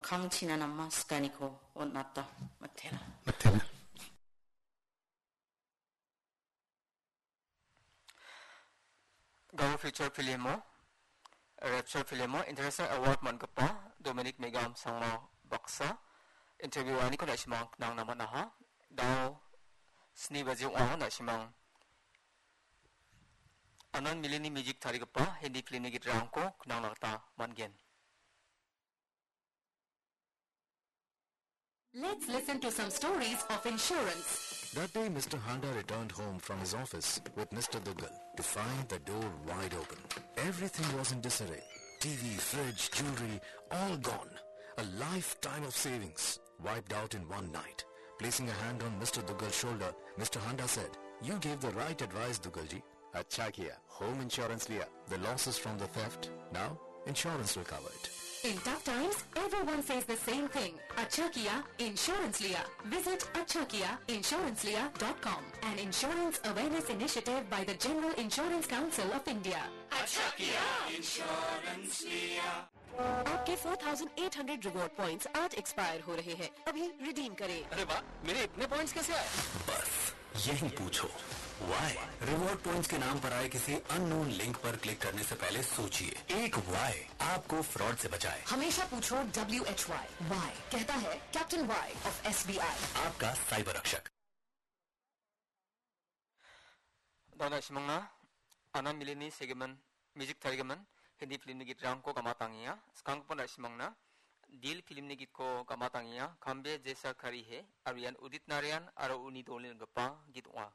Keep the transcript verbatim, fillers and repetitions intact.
kangchina nama sikaniko on·ata. Mitela. Mitela. Garo feature filmo, Rapture filmo International Award man·gipa Dominic Megam Sangma baksa interview-aniko na·simang nangna man·aha. Dao sni baji ong·ao na·simang Anand Milini music tarigipa Hindi filmni gitarangko nangna gita man·gen. Let's listen to some stories of insurance. That day, Mister Handa returned home from his office with Mister Duggal to find the door wide open. Everything was in disarray. T V, fridge, jewelry, all gone. A lifetime of savings wiped out in one night. Placing a hand on Mister Duggal's shoulder, Mister Handa said, "You gave the right advice, Duggalji." अच्छा किया, home insurance लिया। The losses from the theft, now insurance will cover it. In tough times, everyone says the same thing. अच्छा किया, insurance लिया। Visit अच्छा किया insurance लिया dot com, an insurance awareness initiative by the General Insurance Council of India. अच्छा किया, insurance लिया। आपके four thousand eight hundred reward points आज एक्सपायर हो रहे हैं, अभी रिडीम करें। अरे वाह, मेरे इतने पॉइंट्स कैसे आए? बस यही पूछो, वाई। रिवॉर्ड पॉइंट्स के नाम पर आए किसी अननोन लिंक पर क्लिक करने से पहले सोचिए। एक वाई आपको फ्रॉड से बचाए। हमेशा पूछो W H Y, वाई कहता है Captain Y of S B I। आपका साइबर रक्षक। Dona simangna, Anand Milini segimin, music tarigimin, Hindi filmni gitrangko gamatangenga. Skanggipa na·simangna, Dil filmni gitko gamatangenga, Kambe Jaisa Kari He, aro ian Udit Narayan aro uni dolni ringgipa git ong·a.